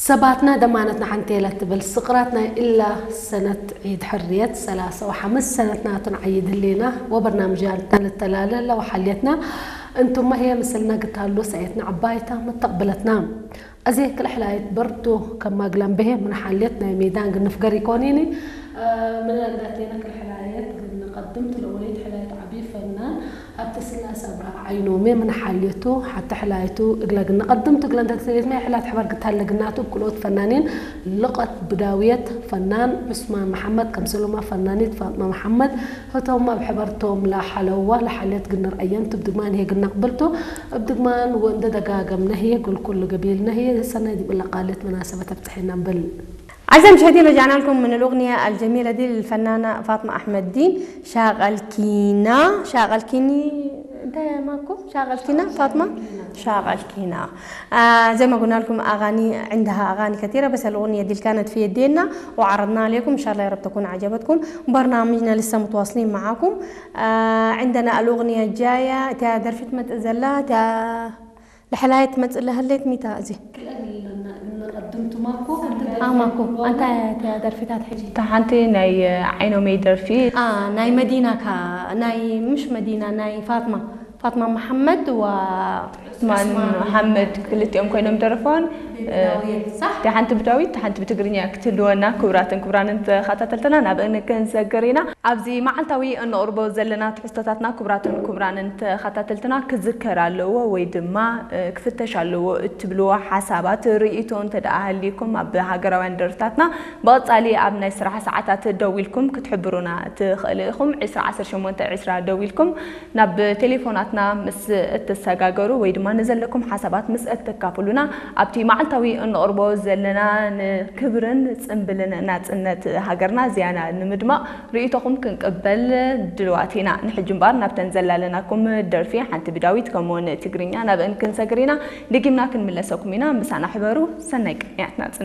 ሰባትና ደማነትና ሓንቲ እያ ትብል ስቕራት ናይ እላ ሰነት ዒድ ሕርየት ሰላሳ ወሓምስ ሰነት ናቱን ዓይድ ህሌና ወበርናምጃትና ልተላለ ለወሓልየትና እንቱማ ህየ ምስልና ግታሉ ሰየትና ዓባይታ መተቕብለትና። እዚ ክልሕላየት በርቱ ከማግላም ብሄ ምንሓልየት ናይ ሜዳን ግንፍገር ይኮኒኒ። ምንላዳቴና ክልሕላየት ግንቐድም ትልኦሊት ሕላየት ዓቢ ፈናን ኣብቲ ስላስ ኣብርሃ ዓይኖሜ ምንሓልየቱ ሓቲ ሕላየቱ እግላ ግንቐድም ትግለ እንተ ትልየት ናይ ሕላት ሕበር ግታለግናቱ ብክልኦት ፈናኒን ልቐት ብዳውየት ፈናን ዑስማን መሓመድ ከምሰሎማ ፈናኒት ፋጥማ መሓመድ ህቶም ኣብ ሕበርቶም ላሓለዋ ላሓልየት ግንርኣየን ትብ ድግማን ህየ ግናቕብልቱ እብ ድግማን ወእንደ ደጋገምነ ህየ ግልኩሉ ገቢልነ ህየ ሰናይ ዲብላ ቃልየት መናሰበት ኣብጽሐና ንብል። أعزائي المشاهدين، رجعنا لكم من الأغنية الجميلة دي للفنانة فاطمة أحمد الدين. شاغل كينا، شاغل كيني، انت ماكو؟ شاغل كينا، فاطمة؟ شاغل كينا. آه، زي ما قلنا لكم، أغاني، عندها أغاني كثيرة، بس الأغنية دي اللي كانت في يدينا وعرضناها لكم، إن شاء الله يا رب تكون عجبتكم. برنامجنا لسه متواصلين معاكم. آه، عندنا الأغنية الجاية، تا درفت متأزلة، تا لحلاية متأزلة هليت ميتا أزي. ክልተ ኣለና፣ ግን ንቐድም ትማኮ፣ ኣንተ ኣማኮ፣ ደርፊ ኣንታ ትብሎ። እታ ደርፊታት ሕጂ። እታ ሓንቲ ናይ ዓይኖመይ ደርፊ። ኣ፣ ናይ መዲና ካ-፣ ናይ፣ ምሽ መዲና፣ ናይ ፋጥማ፣ ፋጥማ መሓመድ ወ-፣ ዑስማን መሓመድ ክልቲኦም ኮይኖም ደረፈዋን። ብዳዊት፣ ሳሕ? እታ ሓንቲ ብዳዊት፣ እታ ሓንቲ ብትግርኛ ክትህልወና፣ ክቡራትን ክቡራንን ተኸታተልትና፣ ናብእን ክንሰግር ኢና። ኣብዚ መዓልታዊ እንቕርቦ ዘለና ትሕዝቶታትና፣ ክቡራትን ክቡራንን ተኸታተልትና፣ ክዝከር ኣለዎ ወይ ድማ፣ እ፣ ክፍተሽ ኣለዎ እትብልዎ ሓሳባት፣ ርእይቶ እንተ ደኣ ሃልዩኩም፣ ኣብ ሃገራውያን ደርፍታትና ብቐጻሊ ኣብ ናይ ስራሕ ሰዓታት ደዊልኩም ክትሕብሩና ትኽእሉ ኢኹም። ዕስራ ዓሰርተ ሸሞንተ ዕስራ ደዊልኩም ናብ ቴሌፎናትና ምስ እትሰጋገሩ ወይ ድማ ንዘለኩም ሓሳባት ምስ እትካፍሉና፣ ኣብቲ መዓልታዊ እንቕርቦ ዘለና ንክብርን ጽምብልን ናጽነት ሃገርና ዝያና ንምድማቕ ርእይቶኹም ክንቅበል ድልዋት ኢና። ንሕጂ እምበኣር ናብተን ዘላለናኩም ደርፊ ሓንቲ ብዳዊት ከምኡውን ትግርኛ ናብእን ክንሰግር ኢና። ደጊምና ክንምለሰኩም ኢና። ምሳና ሕበሩ። ሰናይ ቅንያት ናጽነት።